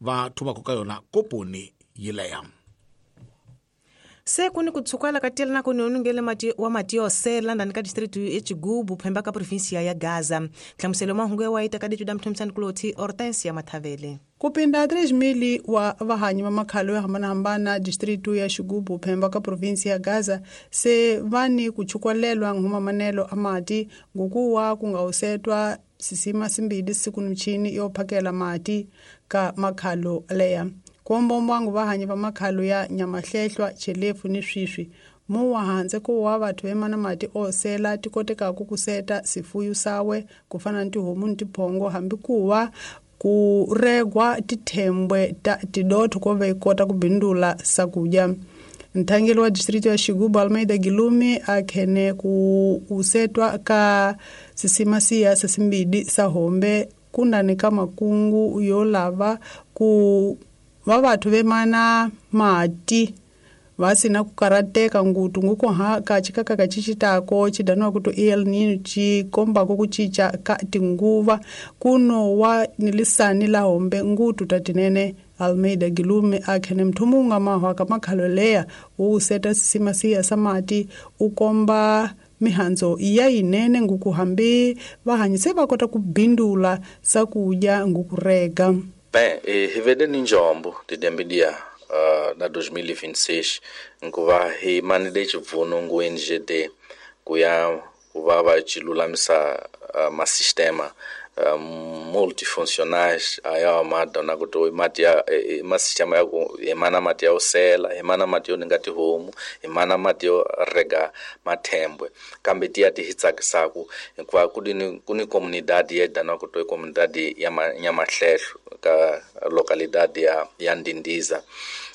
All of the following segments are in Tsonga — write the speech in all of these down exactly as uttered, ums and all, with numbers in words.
va thumaka ka yona koponi yileya. Se kuni kutsukala ka tela na ku nonungele mati wa mati yo sela ndani ka district ya Chigubu phemba ka provinsia ya Gaza. Hlamuselo mahungu ya waita ka ditu da mthomsani kuloti Hortensia Mathavele. Kupinda três mil wa vahanyi va makhalo yo hambanahambana distritu ya Xigubu phemba ka provinsi ya Gaza se vani kuchukwalelwa ngumamanelo amati ngukuwa kungawusetwa sisima simbili siku mchini yo phakela mati ka makhalo leya. Kuombombwangu vahanyi va makhalo ya Nyamahlehlwa, Chelefu ni Swiswi muwa hanze kuwa vathu vemana mati osela tikotekaku kuseta sifuyu sawe kufana ni tihomu ni tiphongo hambi kuwa kuregwa tithembwe ta tidotho ko ve kota ku bindula sakudya. Nthangeli wa district ya Xigubu Almeida Gilumi akhene ku usetwa ka sisima siya sesimbili sa hombe kundani ka makungu yo lava ku va vathu vemana mati va sina ku karateka ngutu nguko ha ka chikaka ka chichitako chidanwa kuto El Nino chikombako ku chicha ka tinguva kuno wa nilisani la hombe ngutu tatinene. Almeida Gilume akhene mthumunga mahwa ka makhalo leya u seta sisima siya samati ukomba mihanzo iya inene ngukuhambi vahanyise va kota ku bindula sakudya ngukurega. Bem, hivede ni njombo tidembidia uh, na dois mil e vinte e seis nkuva hi manide chivuno ngu N G D kuya kuva va chilulamisa uh, masistema uh, multifuncionais aya madona kuto mati ya e, masistema ya ku emana mati ya osela emana mati yo ningati homu emana mati yo rega mathembwe kambe tiya ti hitsakisaku hikuva kuni kuni comunidade ya dana kuto comunidade ya Nyamahlehlo ka localidade ya ya Ndindiza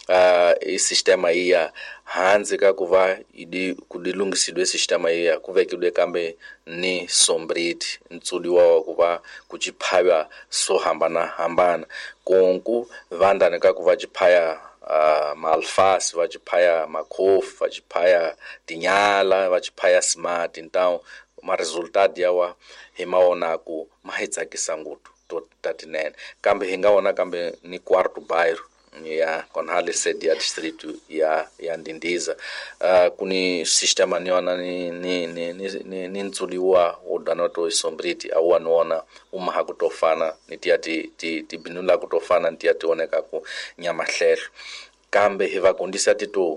uh, i sistema iya hanze ka kuva idi kudilungisidwe sistema iya kuvekidwe kambe ni sombriti ntsuliwa wa kuva kuchiphaya so hambana hambana konku vandani ka kuva chiphaya uh, maalface va chiphaya makhofu va chiphaya tinyala va chiphaya smart então ma resultado yawa hi maona ku ma hi tsakisa ngopfu to tatinene kambe hi nga wona kambe ni quarto bairro ya konhale sede ya distrito ya ya Ndindiza uh, kuni sistema niona ni ni ni ni, ni ntsuliwa odanoto isombriti awa niona umaha kutofana ni tia ti ti ti binula kutofana ni tia tioneka ku Nyamahlehlo kambe hi va kondisa tito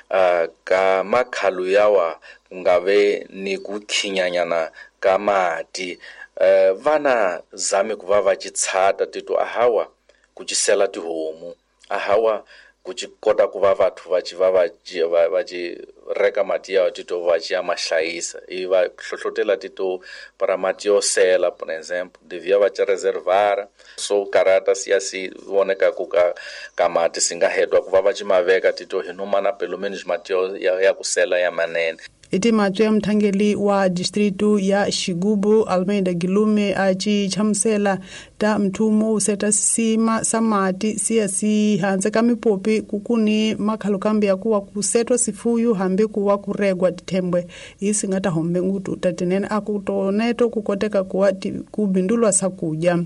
uh, ka makhalo yawa kungave ni kukhinyanyana ka mati uh, vana zame kuva va chitshata tito ahawa kuchisela tihomu ahawa kuchikota kuva vathu va chi va va va chi reka mati ya tito va chi ya mahlayisa i va hlohlotela tito para mati yo sela por exemplo devia va chi reservar so karata siya si voneka ku ka ka mati singa hetwa ku va va chi maveka tito hi nomana pelo menos mati ya, ya kusela ya manene. Iti matwe ya mthangeli wa distritu ya Xigubu Almeida Gilume achi chamusela ta mthumo useta sisima samati siya si hanze ka mipopi kukuni makhalo kambi ya kuwa kusetwa sifuyu hambi kuwa kuregwa tithembwe isi nga ta hombe ngutu tatinene akutoneto kukoteka kuwa kubindulwa sakudya.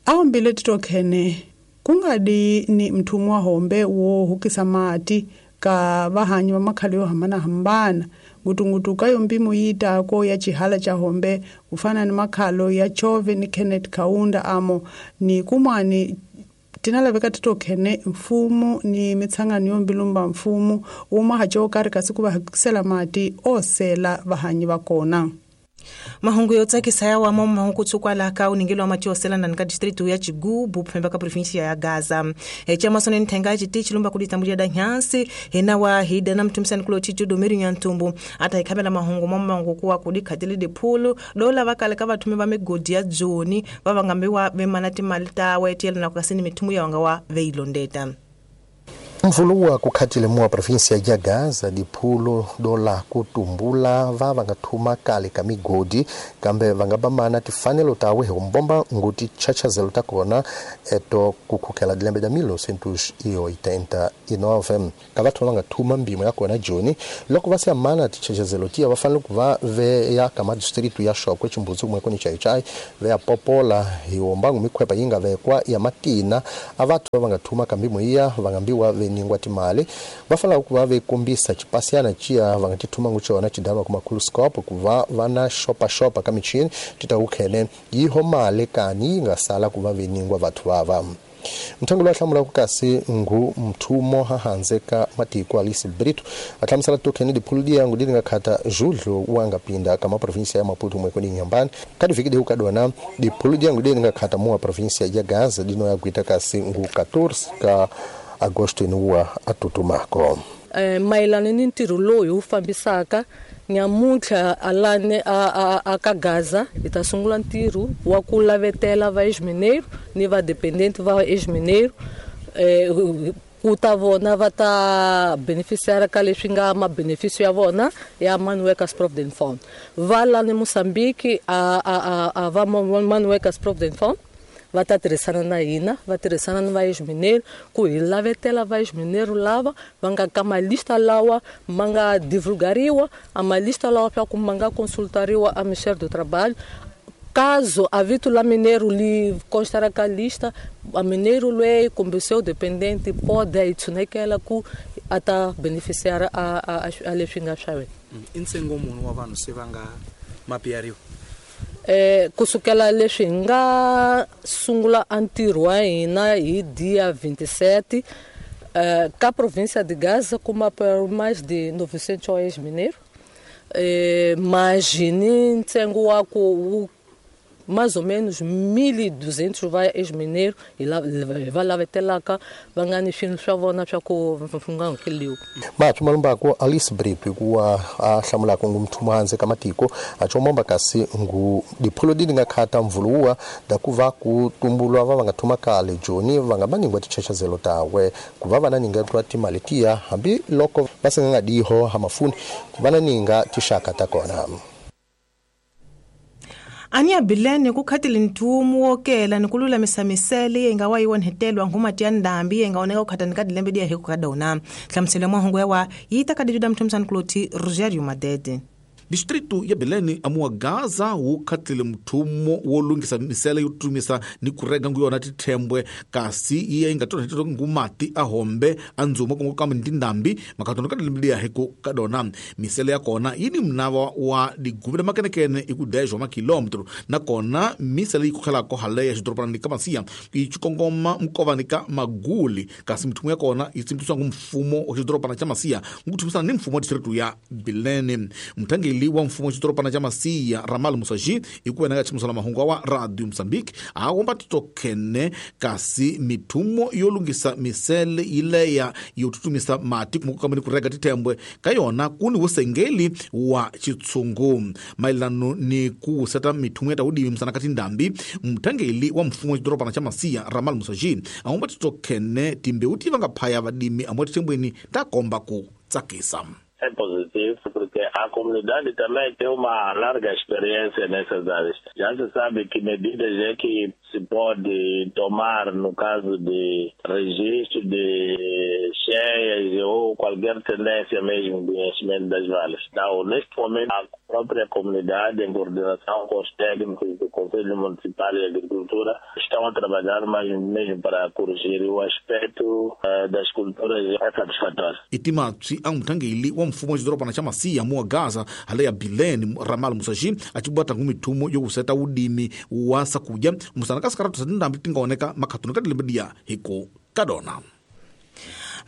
Ahombile titokhene kungadi ni mthumo wa hombe wo hukisa mati ka vahanyi va makhalo yo hambanahambana ngutungutu ka yo mpimo yitako ya chihala cha hombe kufana ni makhalo ya Chove ni Kenneth Kaunda amo ni kumwani tinalaveka titokhene mfumo ni mitsangano yo mbilumba mfumo uma hacho kari kasi ku va hakisela mati osela vahanyi va kona. Mahungu yo tsakisa ya wa mahungu kutsukwa ka uningelo wa mati osela ndani ka distritu ya Chigubu phemba ka provinsia ya Gaza. E chama sone nthenga chiti chilumba kuditambulia da nyansi hena wa hida na mtumsani kulo chichu domiri nyantumbu ata ikhabela mahungu mamangu kuwa kudikhatele diphulu dola vakale ka vathume va migodi ya Joni va vangambiwa vemana timali ta wetiyela na kukasini mithumu ya wanga wa veilondeta. Mvuluwa kukhatile muwa província ya Gaza diphulo dola kutumbula va va nga thuma kale ka migodi kambe va nga bamana tifanelo tawe hi kumbomba nguti chachazelo ta kona eto kukhukela dilembe da mil novecentos e oitenta e nove ka vathu va nga thuma mbimo ya kona joni loko va se amana tichachazelo tiya va fanele ku va ve ya ka madistritu ya Xokwe Chimbudzi kumwe koni Chaichai ve ya popola hi wombangu mikhwepa yi nga vekwa ya matina a vathu va nga thuma ka mbimo iya va nga mbiwa ve ningwa timali va fanele ku va ve kombisa xipasiana ciya va nga ti thuma ngu xona xidalwa kuma khuluscope ku va va na xopaxopa ka michini ti ta ku khene yiho mali kani yi nga sala ku va ve ningwa vathu vava. Mthangu loyi a hlamulaka kasi ngu mthumo hahandze ka matiko Alice Brito a hlamusela tokhene diphulu diyangu di nga khata judlo wa nga pinda ka maprovinsia ya Maputo mweko ni Nyambani ka diviki dihu kadona diphulu diyangu di nga khata muwa provinsia ya Gaza dino ya gwita kasi ngu quatorze ka agosto inuwa atutumako. Eh, mayelana ni ntirho lowu hi wu fambisaka nyamuntlha alane a, a, a ka Gaza hi ta sungula ntirho wa ku lavetela va ex-mineiro ni va dependente va ex-mineiro eh, ku ta vona va ta beneficiara ka leswi nga mabeneficio ya vona ya Mine Workers Provident Fund. Va lani Mozambique a, a, a, a va Mine Workers Provident Fund va ta tirhisana na hina, va tirhisana ni va ex-mineiro ku hi lavetela va ex-mineiro lava va nga ka malista lawa ma nga divulgariwa, a malista lawa swa ku ma nga consultariwa a Ministério do Trabalho. Caso a vito la mineiro li constará ka lista, a mineiro lei kumbe seu dependente pode itsunekela ku ata beneficiar a a a leswi nga swa wena. I ntsengo muni wa vanhu se va nga mapiyariwa? Eh, kusukela leswi hi nga sungula a ntirho wa hina hi dia vinte e sete, eh, ka província de Gaza kuma por mais de novecentos ex-mineiros, eh, mas ni ntsengo wa ku wu mais ou menos mil e duzentos va ex-mineiro e lá va lavetelaka va nga ni swilo swa vona swa ku nga hakeliwi. Mathu malumbako Alice Brito kuwa a hlamulaka ngu mthumo handze ka matiko a chomomba kasi ngu diphulo di nga khata mvuluwa da ku va ku tumbulwa va va nga thuma kale joni va nga baningwa tichachazelo tawe ku va va na ninga twa timali tiya hambi loko va se nga diho ha mafuni ku va na ninga tixaka ta kona. Ania bilene ku khatile nthumu wo kela ni ku lulamisa misele yi nga wa yi onhetelwa ngumati ya ndhambi yi nga oneka ku khatani ka dilembe diya hi ku ka dona. Hlamuselo ya mahungu ya wa yi ta ka dijuda mthomsani kuloti Rogerio Madede. Distrito ya Bilene amuwa Gaza wu khatlile mthumo wo lunghisa misele yo tumisa ni ku rega ngu yona tithembwe kasi yi nga tonhetelo ngumati a hombe a ndzuma ku kambe ni tindhambi makhatano ka dilembe hi ku ka dona. Misele ya kona yi ni mnava wa digubile makenekene i ku dez wa makilometro nakona misele yi kukhelako hale ya xidorobanani ka Masiya yi kongoma mkovani ka Maguli kasi mthumo ya kona yi tsimbisiwa ngu mfumo wa xidorobana xa Masiya ngu thumisana ni mfumo wa distrito ya Bilene. Mthangeli wa mfumo wa xidorobana xa Masiya Ramal Musaji hi ku wena ka ximusela mahungu wa Radio Mozambique a komba titokhene kasi mithumo yo lunghisa misele yileya yo tutumisa mati kumbe kambe ni ku rega tithembwe ka yona ku ni vusengeli wa xitshungu mayelano ni ku seta mithumo ya ta wudimi misana ka tindhambi. Mthangeli wa mfumo wa xidorobana xa Masiya Ramal Musaji a komba titokhene timbewu ti va nga phaya vadimi amuwa tithembweni ta komba ku tsakisa. É positivo porque a comunidade também tem uma larga experiência nessas áreas. Já se sabe que medidas é que se pode tomar no caso de registro de cheias ou qualquer tendência mesmo de enchimento das vales. Então, neste momento, a própria comunidade, em coordenação com os técnicos do Conselho Municipal de Agricultura, estão a trabalhar mais mesmo para corrigir o aspecto uh, das culturas é satisfatório. Itimatsi a mthangeli wa mfumo wa xidorobana xa Masiya muwa Gaza hale ya Bilene Ramal Musaji a cibata ngu mithumo yo kuseta wudimi wa sakudya musana ka sikaratu sa tindhambi ti nga oneka makhatuni ka dilembe diya hi ku ka dona.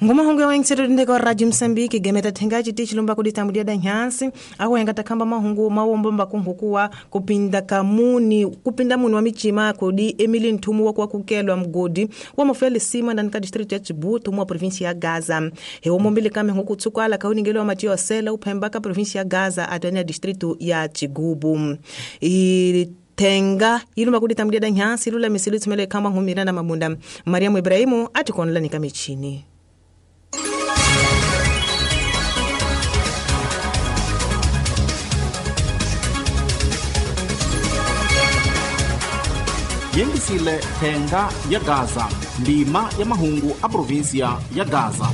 Ngomahungu ya wengisero ndeko Radio Mozambique gemeta thengaji ti chilomba kuditambudia da nyansi awo yanga takamba mahungu mawomba kunhukuwa kupinda kamuni kupinda muni wa michima kodi Emily Nthumu wa kukelwa mgodi wa mafele sima ndani ka district ya Chibuto mwa province ya Gaza he omombile kame hukutsukala kauningelo wa matio sela uphemba ka province ya Gaza atania district ya Chigubu i tenga iluma kuditambudia da nyansi lula misili tumele kamba ngumira na mabunda Mariamu Ibrahimu atikonla nikamichini. Miyengisile thenga ya Gaza, ndima ya mahungu a provinsia ya Gaza.